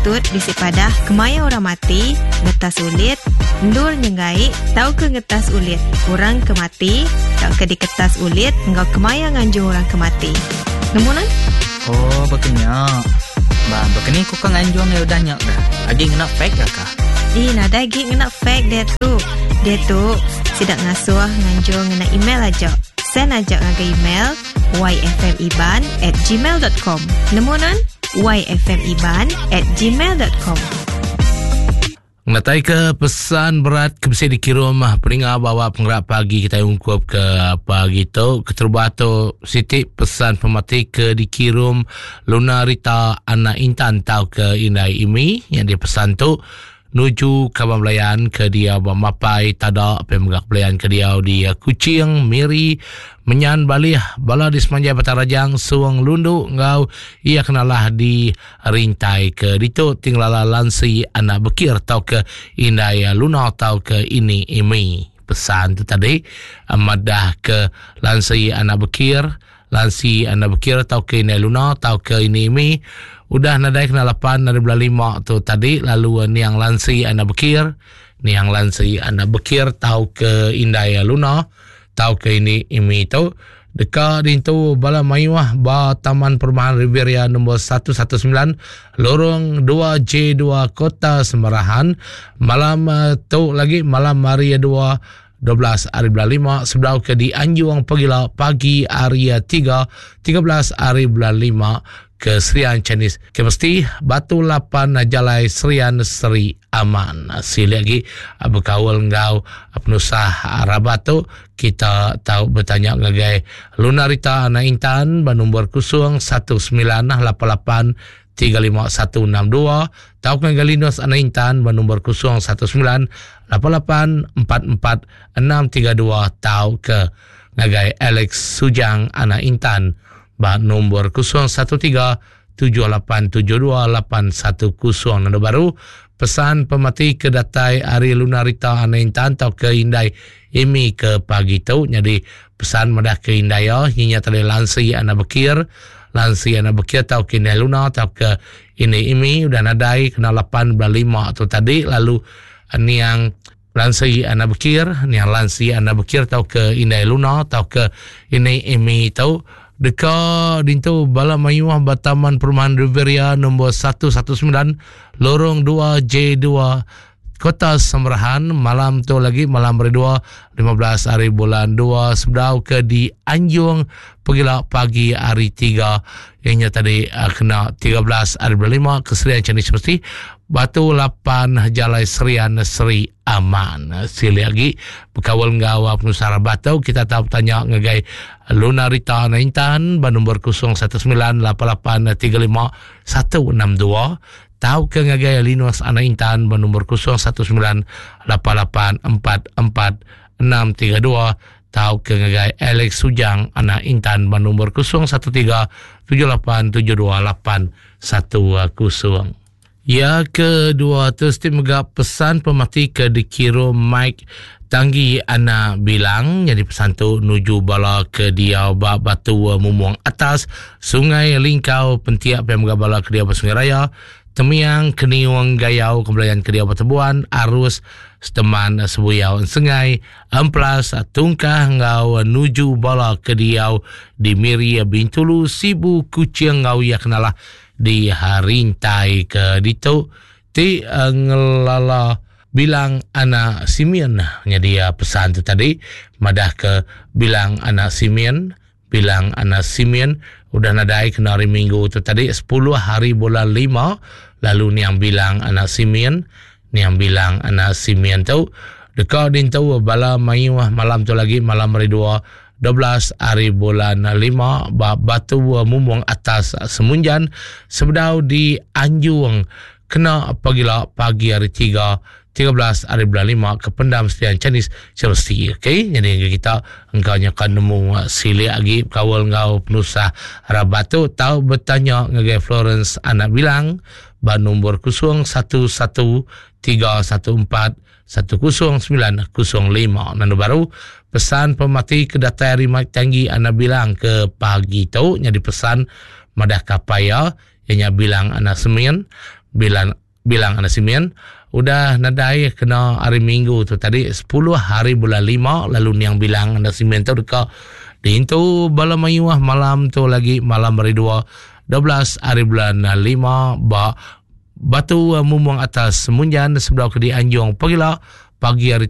patut bisi padah kemaya orang mati, ngetas ulit, endur nyenggai tauka ngetas ulit orang ke mati tauka diketas ulit enggau kemaya nganjung orang ke mati. Nemu nuan? Oh, baka nya. Ba, baka ni ku ka nganjung iya udah nya ga? Agi ngena fax ga ka? Ih, nadai agi ngena fax diatu. Diatu, sida ngasuh nganjung ngena email aja. Send aja ngagai email yfmiban at gmail dot com. Nemu nuan? yfmiban at gmail dot com. Ngenatai ke pesan berat ke bisi dikirum peninga bawa pengerak pagi kita ungkup ke pagi tu. Keterubah tu siti pesan pemati ke dikirum Luna Rita Anak Intan tau ke Indai Imi yang dipesan tu nuju kaban belayan ke dia ba Mapai Tada pe mega belayan ke dia di Kuching, Miri, Menyan Balih, bala di Semanjai Batang Rajang, Suang Lundu enggau iya kenalah di Rintai ke ditu tingelala Lansi Anak Bekir tau ke Indai Luna tau ke Ini Imi. Pesan tu tadi madah ke Lansi Anak Bekir Lansi anda bekira tauka indai Luna tauka ini imi udah nadai kena lapan ari bulan lima tu tadi lalu niang Lansi anda bekir niang Lansi anda bekir tauka indai Luna tauka ini imi tu deka dintu bala mayuh ba Taman Perumahan Riviera nombor 119 Lorong 2J2 Kota Semarahan malam eh, tu lagi malam hari 2 12 ari bulan 5 sebedau ke dianjung pegila pagi hari 3 13 ari bulan 5 ke Serian Chinese ke mesti Batu 8 Jalai Serian Seri Aman. Silik lagi bekaul enggau penusah rabat tu kita tau betanya ngagai Lunarita Anak Intan ba nombor 01988 35162 tauka ngagai Linus Anak Intan ba nombor 019 88 44 632 tauka ngagai Alex Sujang Anak Intan ba nombor 013 7872 810. Nanda baru pesan pemati ke datai ari Lunarita Anak Intan tauka indai Amy ke pagi tu nyadi pesan madah ke indai iya nyinya tali lansi anak bekir lansi anak bekir tauka indai Luna tauka indai Amy udah nadai kena lapan bulan lima tu tadi lalu niang lansi anak bekir niang lansi anak bekir tauka indai Luna tauka indai Amy tu deka dintu bala mayuh ba Taman Perumahan Riviera nombor 119 Lorong 2 J2 Kota Samarahan malam tu lagi malam hari 2 15 hari bulan 2 sebedau ke di Anjung pegila pagi hari 3 ianya tadi uh, kena 13 hari bulan 5 ke Serian Chinese Mesti Batu 8 Jalai Serian Seri Aman. Sili lagi berkawal enggau uh, penusah batu kita tahu bertanya ngagai Luna Rita Naintan ba nombor 019 88 35 162 Tauka ngagai Linus Anak Intan ba nombor 0198844632 tauka ngagai Alex Sujang Anak Intan ba nombor 0137872810. Ya kedua tu ti mega pesan pemati ke dikirum Mike Tanggi Anak Bilang nyadi pesan tu nuju bala ke diau ba Batu Mumung Atas, Sungai Lingkau, Pentiak pia mega bala ke diau ba Sungai Raya, Temiang, Keniung, Gayau, Kebelayan ke diau ba Tebuan, Arus, Seteman, Sebuyau, Ensengai, Emplas, Tungkah enggau nuju bala ke diau di Miri, Bintulu, Sibu, Kuching enggau iya kenalah di Rintai ke ditu ti ngelala Bilang anak Simeon nyadi pesan tu tadi madah ke Bilang anak Simeon Bilang anak Simeon udah nadai kena hari Minggu tu tadi 10 hari bulan 5 lalu niang Bilang anak Simeon niang Bilang anak Simeon tu deka dintu bala mayuh malam tu lagi malam hari 2 12 hari bulan 5 ba Batu Mumung Atas Semunjan sebedau di Anjung kena pagila pagi hari 3 13 hari bulan 5 ke pendam Serian Chinese Chelsea. Okey, jadi kita engkau nya kan nemu silik agi bekaul enggau penusah rabat tu tau betanya ngagai Florence Anak Bilang ba nombor 011 314 10905. Nanu baru pesan pemati ke datai ari Mike Tanggi Anak Bilang ke pagi tu nyadi pesan madah kapaya iya nya Bilang Anak Semin. Bilang Bilang anak Simeon udah nadai kena hari Minggu tu tadi 10 hari bulan 5 lalu niang Bilang anak Simeon tu deka diintu bala mayuh malam tu lagi malam hari 2 12 hari bulan 5 ba Batu Mumung Atas Munjan sebedau ke dianjung pagila pagi hari.